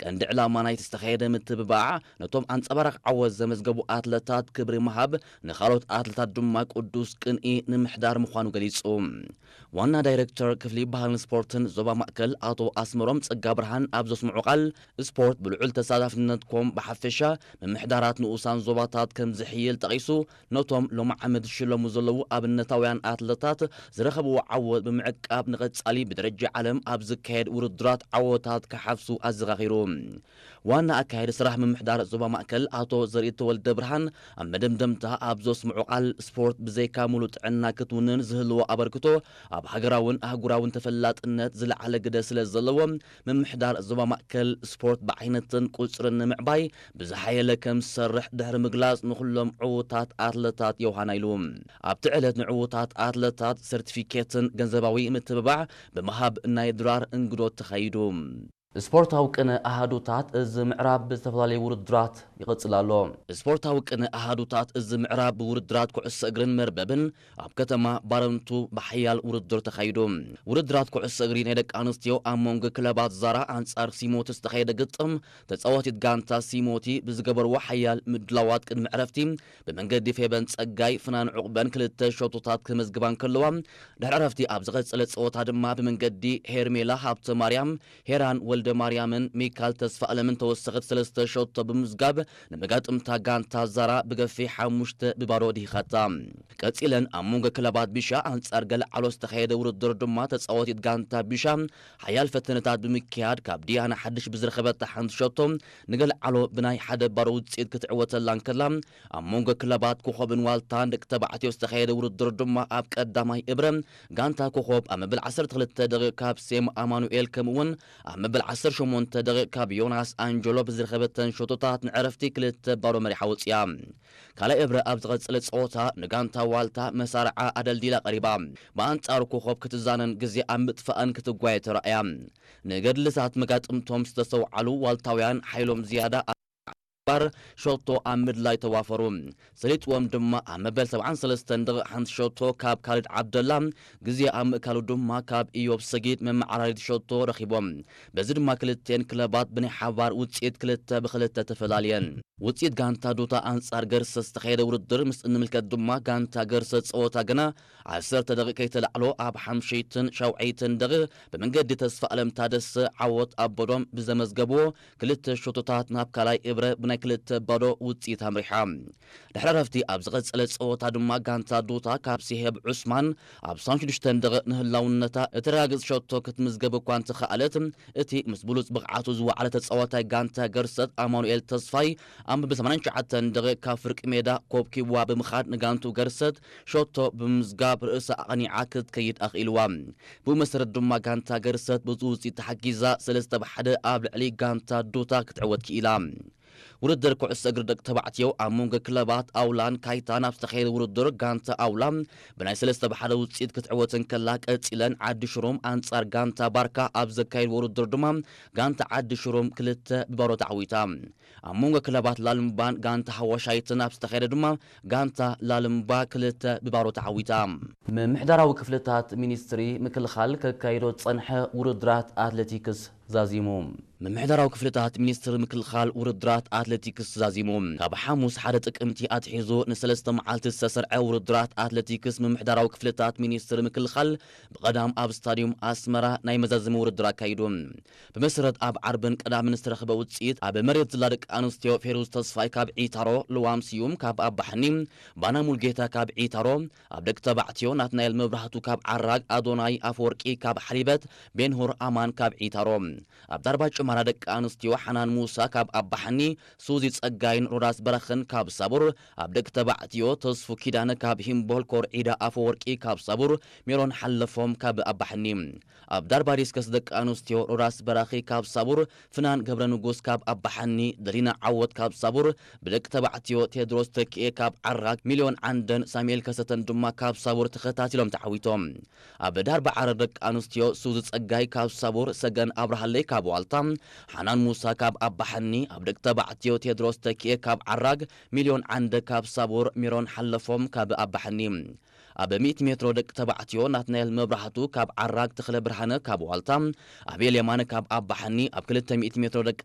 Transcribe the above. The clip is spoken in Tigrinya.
ቀንዲ ዕላማ ናይቲ ዝተኻየደ ምትብባዕ ነቶም ኣንጸባራቕ ዓወት ዘመዝገቡ ኣትለታት ክብሪ ምሃብ፣ ንኻልኦት ኣትለታት ድማ ቅዱስ ቅንኢ ንምሕዳር ምዃኑ ገሊጹ። ዋና ዳይሬክተር ክፍሊ ባህልን ስፖርትን ዞባ ማእከል ኣቶ ኣስመሮም ጸጋ ብርሃን ኣብ ዘስምዑ ቃል፣ ስፖርት ብልዑል ተሳታፍነትኩም ብሓፈሻ ምምሕዳራት ንኡሳን ዞባታት ከም ዝሕይል ጠቒሱ፣ ነቶም ሎሚ ዓመት ዝሽለሙ ዘለዉ ኣብነታውያን ኣትለታት ዝረኸብዎ ዓወት ብምዕቃብ ንቐጻሊ ብደረጃ ዓለም ኣብ ዝካየድ ውድድራት ዓወታት ክሓፍሱ ኣዘኻኺሩ። ዋና ኣካያዲ ስራሕ ምምሕዳር ዞባ ማእከል ኣቶ ዘርኢ ተወልደ ብርሃን ኣብ መደምደምታ ኣብ ዘስምዑ ቃል፣ ስፖርት ብዘይካ ሙሉእ ጥዕና ክትውንን ዝህልዎ ኣበርክቶ ኣብ ሃገራውን ኣህጉራውን ተፈላጥነት ዝለዓለ ግደ ስለ ዘለዎ፣ ምምሕዳር ዞባ ማእከል ስፖርት ብዓይነትን ቁጽርን ንምዕባይ ብዝሓየለ ከም ዝሰርሕ ድሕሪ ምግላጽ፣ ንኹሎም ዕዉታት ኣትለታት የውሃና ኢሉ። ኣብቲ ዕለት ንዕዉታት ኣትለታት ሰርቲፊኬትን ገንዘባዊ ምትብባዕ ብምሃብ ናይ ድራር እንግዶት ተኻይዱ። ስፖርታዊ ቅነ ኣሃዱታት እዚ ምዕራብ ብዝተፈላለዩ ውድድራት ይቕጽል ኣሎ። ስፖርታዊ ቅነ ኣሃዱታት እዚ ምዕራብ ብውድድራት ኩዕሶ እግርን መርበብን ኣብ ከተማ ባረንቱ ብሓያል ውድድር ተኻይዱ። ውድድራት ኩዕሶ እግሪ ናይ ደቂ ኣንስትዮ ኣብ መንጎ ክለባት ዛራ ኣንጻር ሲሞቲ ዝተኻየደ ግጥም፣ ተጻዋቲት ጋንታ ሲሞቲ ብዝገበርዎ ሓያል ምድላዋት ቅድሚ ዕረፍቲ ብመንገዲ ፌበን ጸጋይ ፍናን ዑቕበን ክልተ ሸቶታት ክመዝግባ እንከለዋ፣ ድሕሪ ዕረፍቲ ኣብ ዝቐጸለ ጸወታ ድማ ብመንገዲ ሄርሜላ ሃብተ ማርያም፣ ሄራን ወልደ ማርያምን ሚካል ተስፋ ኣለምን ተወሰኸት ሰለስተ ሸቶ ብምምዝጋብ ንመጋጥምታ ጋንታ ዛራ ብገፊሕ ሓሙሽተ ብባዶ ድሂኻታ። ቀጺለን ኣብ መንጎ ክለባት ቢሻ ኣንጻር ገለዓሎ ዝተኻየደ ውድድር ድማ ተጻዋቲት ጋንታ ቢሻ ሓያል ፈተነታት ብምክያድ ካብ ዲያና ሓድሽ ብዝረኸበታ ሓንቲ ሸቶ ንገለዓሎ ብናይ ሓደ ባዶ ውጽኢት ክትዕወተላ እንከላ፣ ኣብ መንጎ ክለባት ኮኾብን ዋልታን ደቂ ተባዕትዮ ዝተኻየደ ውድድር ድማ ኣብ ቀዳማይ እብረ ጋንታ ኮኾብ ኣብ መበል ዓሰርተ ክልተ ደቂቕ ካብ ሴም ኣማኑኤል ከምኡ እውን ኣብ መበል ዓሰርተ ሸሞንተ ደቂቕ ካብ ዮናስ ኣንጀሎ ብዝረኸበተን ሸቶታት ንዕረፍቲ ክልተ ባዶ መሪሓ ወጽያ። ካልኣይ እብረ ኣብ ዝቐጸለ ጸወታ ንጋንታ ዋልታ መሳርዓ ኣደልዲላ ቀሪባ። ብኣንጻሩ ኮኾብ ክትዛነን ግዜ ኣብ ምጥፋእን ክትጓየ ተራእያ። ንገድልታት መጋጥምቶም ዝተሰውዓሉ ዋልታውያን ሓይሎም ዝያዳ ባር ሸቶ ኣብ ምድላይ ተዋፈሩ። ሰሊጥዎም ድማ ኣብ መበል ሰብዓን ሰለስተን ደቂቕ ሓንቲ ሸቶ ካብ ካልድ ዓብደላ፣ ግዜ ኣብ ምእካሉ ድማ ካብ ኢዮብ ሰጊድ መመዓራሪት ሸቶ ረኺቦም። በዚ ድማ ክልቴን ክለባት ብናይ ሓባር ውጽኢት ክልተ ብክልተ ተፈላልየን። ውጽኢት ጋንታ ዱታ ኣንጻር ገርሰት ዝተኻየደ ውድድር ምስ እንምልከት ድማ ጋንታ ገርሰት ጸወታ ገና ዓሰርተ ደቂቕ ከይተላዕሎ ኣብ ሓምሸይትን ሻውዓይትን ደቂቕ ብመንገዲ ተስፋ ኣለም ታደሰ ዓወት ኣበዶም ብዘመዝገብዎ ክልተ ሸቶታት ናብ ካልኣይ እብረ ብናይ ክልተ ባዶ ውጽኢት ኣምሪሓ። ድሕሪ ዕረፍቲ ኣብ ዝቐጸለ ጸወታ ድማ ጋንታ ዱታ ካብ ሲሄብ ዑስማን ኣብ ሰብዓን ሽዱሽተን ደቂቕ ንህላውነታ እተረጋግጽ ሸቶ ክትምዝገብ እኳ እንተኸኣለት፣ እቲ ምስ ብሉጽ ብቕዓቱ ዝወዓለ ተጻዋታይ ጋንታ ገርሰት ኣማኑኤል ተስፋይ ኣብ መበል ሰማንያን ትሽዓተን ደቂቕ ካብ ፍርቂ ሜዳ ኮብኪብዋ ብምኻድ ንጋንቱ ገርሰት ሸቶ ብምምዝጋብ ርእሳ ኣቕኒዓ ክትከይድ ኣኽኢልዋ። ብኡ መሰረት ድማ ጋንታ ገርሰት በዚ ውጽኢት ተሓጊዛ ሰለስተ ብ ሓደ ኣብ ልዕሊ ጋንታ ዱታ ክትዕወት ክኢላ። ውድድር ኩዕሶ እግሪ ደቂ ተባዕትዮ ኣብ መንጎ ክለባት ኣውላን ካይታን ኣብ ዝተኻየደ ውድድር ጋንታ ኣውላ ብናይ ሰለስተ ብ ሓደ ውጽኢት ክትዕወት እንከላ፣ ቀጺለን ዓዲ ሽሩም ኣንጻር ጋንታ ባርካ ኣብ ዘካየድዎ ውድድር ድማ ጋንታ ዓዲ ሽሩም ክልተ ብባዶ ተዓዊታ። ኣብ መንጎ ክለባት ላልምባን ጋንታ ሃዋሻይትን ኣብ ዝተኻየደ ድማ ጋንታ ላልምባ ክልተ ብባዶ ተዓዊታ። ምምሕዳራዊ ክፍልታት ሚኒስትሪ ምክልኻል ከካይዶ ዝጸንሐ ውድድራት ኣትሌቲክስ ዛዚሙ። ምምሕዳራዊ ክፍልታት ሚኒስትሪ ምክልኻል ውድድራት ኣትሌቲክስ ዛዚሙ። ካብ ሓሙስ ሓደ ጥቅምቲ ኣትሒዙ ንሰለስተ መዓልቲ ዝተሰርዐ ውድድራት ኣትሌቲክስ ምምሕዳራዊ ክፍልታት ሚኒስትሪ ምክልኻል ብቐዳም ኣብ ስታዲዩም ኣስመራ ናይ መዛዘሚ ውድድር ኣካይዱ። ብመሰረት ኣብ ዓርብን ቀዳምን ዝተረኽበ ውጽኢት፣ ኣብ መሬት ዝላ ደቂ ኣንስትዮ ፌሩዝ ተስፋይ ካብ ዒታሮ፣ ልዋም ስዩም ካብ ኣባሕኒ፣ ባና ሙልጌታ ካብ ዒታሮ፣ ኣብ ደቂ ተባዕትዮ ናትናኤል መብራህቱ ካብ ዓራግ፣ ኣዶናይ ኣፈወርቂ ካብ ሓሊበት፣ ቤንሁር ኣማን ካብ ዒታሮ። ኣብ ዳርባ ጭማራ ደቂ ኣንስትዮ ሓናን ሙሳ ካብ ኣባሕኒ፣ ሱዚ ጸጋይን ሮዳስ በረኽን ካብ ሳቡር፣ ኣብ ደቂ ተባዕትዮ ተስፉ ኪዳነ ካብ ሂምቦል፣ ኮርዒዳ ኣፈወርቂ ካብ ሳቡር፣ ሜሮን ሓለፎም ካብ ኣባሕኒ። ኣብ ዳርባ ዲስከስ ደቂ ኣንስትዮ ሮዳስ በራኺ ካብ ሳቡር፣ ፍናን ገብረ ንጉስ ካብ ኣባሓኒ፣ ደሊና ዓወት ካብ ሳቡር፣ ብደቂ ተባዕትዮ ቴድሮስ ተኪኤ ካብ ዓራግ፣ ሚልዮን ዓንደን ሳሙኤል ከሰተን ድማ ካብ ሳቡር ተኸታቲሎም ተዓዊቶም። ኣብ ዳርባ ዓረር ደቂ ኣንስትዮ ሱዚ ጸጋይ ካብ ሳቡር፣ ሰገን ኣብርሃለይ ካብ ዋልታ፣ ሓናን ሙሳ ካብ ኣባሓኒ፣ ኣብ ደቂ ተባዕትዮ ቴድሮስ ተኪኤ ካብ ዓራግ፣ ሚልዮን ዓንደ ካብ ሳቡር፣ ሜሮን ሓለፎም ካብ ኣባሓኒ። ኣብ ሚእቲ ሜትሮ ደቂ ተባዕትዮ ናትናኤል መብራህቱ ካብ ዓራግ፣ ተኽለ ብርሃነ ካብ ዋልታ፣ ኣቤል የማነ ካብ ኣባሓኒ፣ ኣብ ክልተ ሚእቲ ሜትሮ ደቂ